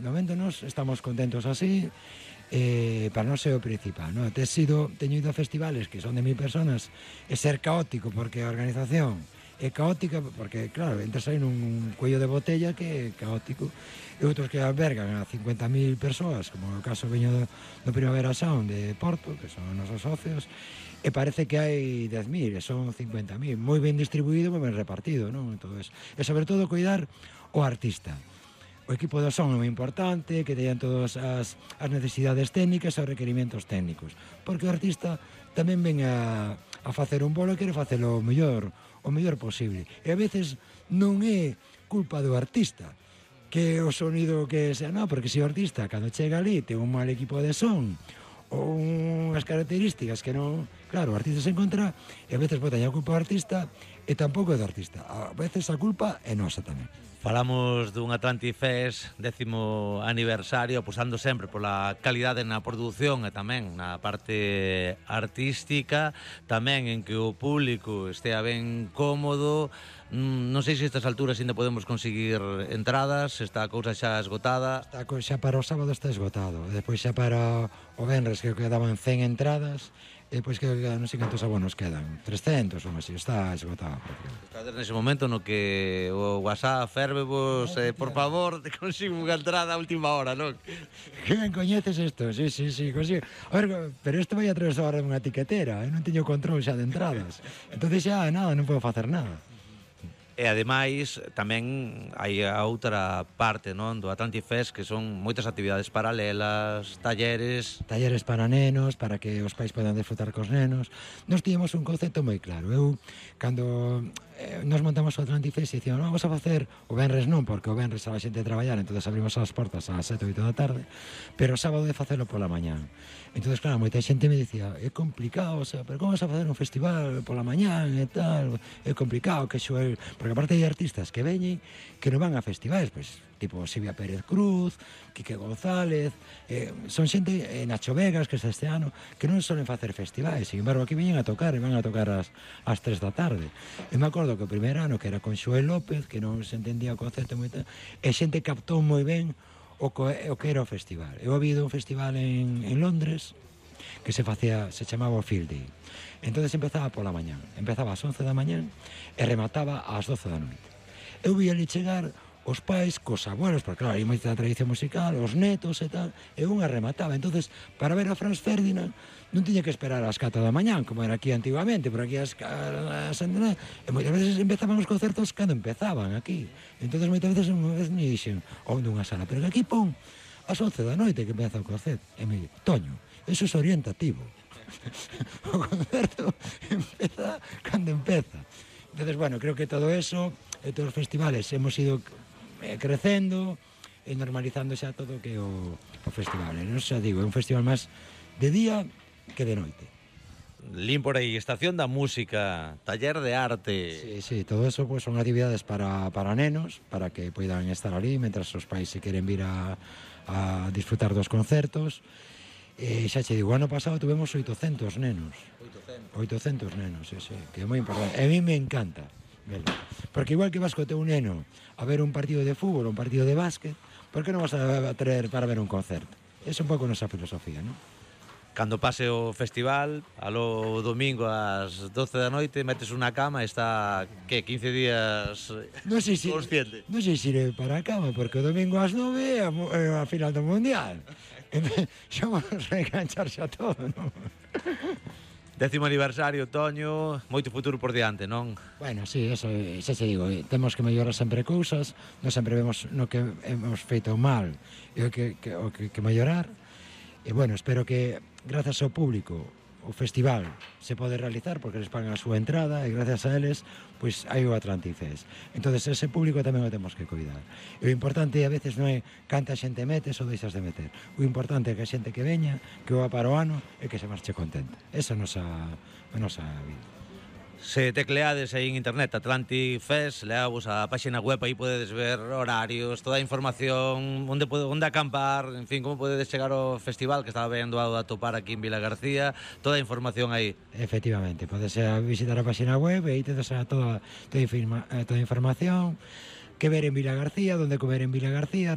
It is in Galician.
de momento nos estamos contentos así, para non ser o principal, non? Teño ido a festivales que son de 1000 personas e ser caótico, porque a organización é caótica, porque, claro, entras aí nun cuello de botella que é caótico, e outros que albergan a 50.000 persoas, como no caso veño do Primavera Sound de Porto, que son os nosos socios, e parece que hai 10.000, e son 50.000, moi ben distribuído, moi ben repartido, non? Entonces, e sobre todo cuidar o artista. O equipo do son é moi importante, que teñan todas as necesidades técnicas e os requerimentos técnicos, porque o artista tamén ven a facer un bolo e quere facelo o mellor posible, e a veces non é culpa do artista que o sonido que sea, non, porque se o artista cando chega ali ten un mal equipo de son ou unhas características que non, claro, o artista se encontra e a veces botan a culpa ao artista e tampouco é do artista, a veces a culpa é nosa tamén. Falamos dun Atlantic Fest 10º aniversario, apostando sempre pola calidade na produción e tamén na parte artística, tamén en que o público estea ben cómodo. Non sei se estas alturas ainda podemos conseguir entradas, esta cousa xa esgotada. Xa para o sábado está esgotado, depois xa para o venres que quedaban 100 entradas, e depois que non sei cantos abonos quedan, 300 ou así, está esgotado. Estades nese momento no que o WhatsApp fervevos, por favor, te consigo unha entrada a última hora, non? Que ben coñeces isto, sí, consigo. A ver, pero isto vai a través agora dunha tiquetera, non teño control xa de entradas, entonces xa nada, non podo facer nada. E ademais tamén hai a outra parte, non, do Atlantic Fest, que son moitas actividades paralelas, talleres para nenos, para que os pais podan disfrutar cos nenos. Nós tiñemos un concepto moi claro. Eu, cando nos montamos o Atlantic Fest, dicíamos, vamos a facer o venres non, porque o venres a xente a traballar, entonces abrimos as portas ás 7 ou 8 da tarde, pero o sábado de facelo pola mañán. Entonces, claro, moita xente me dicía, é complicado, o sea, pero como vas a facer un festival pola mañán e tal, é complicado, que xoel, porque aparte hai artistas que veñen que non van a festivais, pois, tipo Silvia Pérez Cruz, Quique González, son xente, Nacho Vegas, que este ano, que non solen facer festivais, sin embargo, aquí veñen a tocar, e van a tocar ás 3 da tarde. E me acordo que o primer ano, que era con Xoel López, que non se entendía o concepto moito, e xente captou moi ben o que era o festival. Eu había ido un festival en Londres que se chamaba o Field Day. Entonces empezaba pola mañán, empezaba ás 11 da mañán e remataba ás 12 da noite. Eu vi ali chegar os pais cos abuelos, porque claro, hai moita tradición musical, os netos e tal, e unha remataba. Entonces, para ver a Franz Ferdinand non tiña que esperar ás 4 da mañán, como era aquí antigamente, por aquí e moitas veces empezaban os concertos cando empezaban aquí. Entonces, moitas veces unha vez me dixen, onde unha sala, pero que aquí pon ás 11 da noite que empeza o concerto. E me dixen, Toño, eso é orientativo. O concerto empeza cando empeza. Entonces, bueno, creo que todo eso, e todos os festivales, hemos ido crecendo e normalizando xa todo que o festival. Non xa digo, é un festival máis de día que de noite. Lín por aí, estación da música, taller de arte. Sí, todo eso pues, son actividades para nenos, para que poidan estar ali, mentras os pais se queren vir a disfrutar dos concertos. Xa che digo, ano pasado tuvemos 800 nenos. 800 nenos, sí, que é moi importante. A mí me encanta. Porque igual que vas co teu neno a ver un partido de fútbol ou un partido de básquet, por que non vas a traer para ver un concerto? É un pouco nosa filosofía, non? Cando pase o festival, alo domingo ás 12 da noite, metes unha cama e está, que, 15 días consciente? Non sei se iré para a cama, porque o domingo ás 9 é a final do Mundial. Xa vamos reenganchar xa todo, non? 10º aniversario, Toño, moito futuro por diante, non? Bueno, sí, eso, xa se digo, temos que mellorar sempre cousas, non sempre vemos no que hemos feito mal e o que mellorar, e bueno, espero que, grazas ao público, o festival se pode realizar porque eles pagan a súa entrada e gracias a eles pois hai o Atlantic Fest. Entonces ese público tamén o temos que cuidar. E o importante a veces non é canta xente metes ou deixas de meter. O importante é que a xente que veña, que va para o ano e que se marche contenta. Esa é a nosa vida. Se tecleades aí en internet Atlantic Fest, leavos a páxina web, aí podedes ver horarios, toda a información, onde acampar, en fin, como podedes chegar ao festival, que estaba ben doado a topar aquí en Vila García, toda a información aí. Efectivamente, podes visitar a páxina web e aí te das toda a información, que ver en Vila García, donde comer en Vila García,